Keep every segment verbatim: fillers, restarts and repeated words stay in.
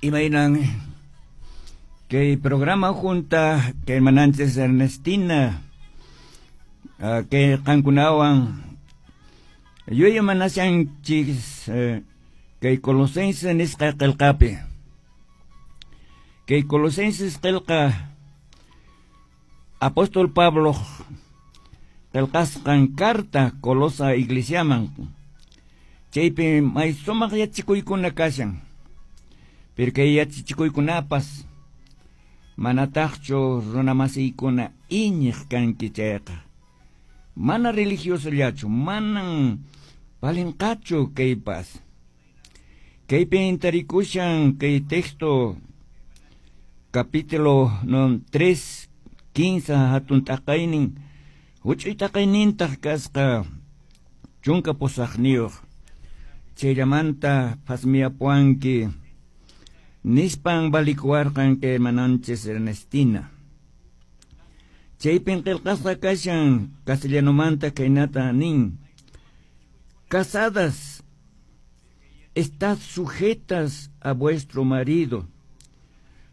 Imaynan kay programa junta kay hermananchis Ernestina uh, kay qankunawan yuyamanashanchis uh, kay Colosenses nisqa qillqapi. Kay Colosenses qillqa Apóstol Pablo qillqasqan carta Colosa iglesiaman, chaypi may sumaq yachikuykuna kashan. Pero kay yachachikuykunapas manataqchu runamasiykuna iñiq kanki chayqa, mana religiosollachu, manan valinqachu kaypas. Kaypi tarikushan kay texto capítulo no tres quince hatun t'aqaynin huch'uy t'aqaynintaq kasqa chunka pusaqniyuq, chayllamanta phasmiyapuwanki nispan valikuwarqan kay hermananchis Ernestina. Chaypin qillqasqa kashan castellanomanta kaynata nin: casadas, estad sujetas a vuestro marido,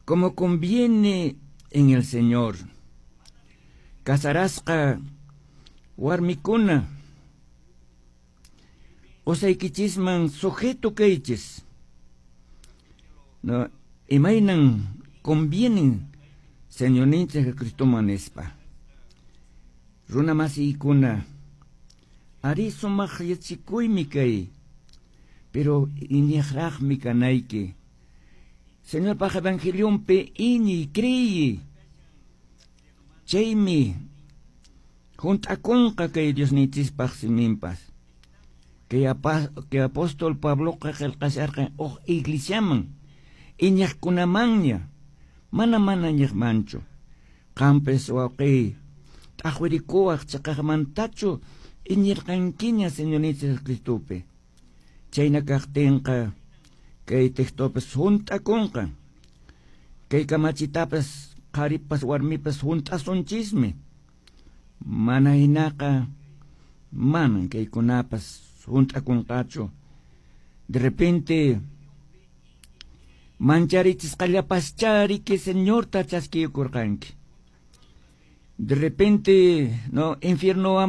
como conviene en el Señor. Casarasqa warmikuna, qusaykichisman sujeto kaychis, no, imaynan convienen Señorninchik Jesucristoman nispa. Runa masiykuna, ari sumaq yachikuymi kay, pero iñiqraqmi kanayki. Señorpaq evangelionpi iñiy, creyi. Chaymi junt'akunqa kay Diosninchispaq siminpas. Kay, kay apóstol Pabloqa qillqasharqan huk iglesiaman, iñiqkunamanña, mana mana iñiqmanchu. Qampis wawqiy t'aqwirikuwaq chiqaqmantachu iñirqankiña Señorninchik Jesucristopi. Chayna kaqtinqa kay textopas hunt'akunqa. Kay kamachitapas qharipas warmipas hunt'asunchismi. Mana hinaqa manan kaykunapas hunt'akunqachu. De repente mancharichisqallapaschariki Señorta chaskiykurqanki. De repente no infiernowan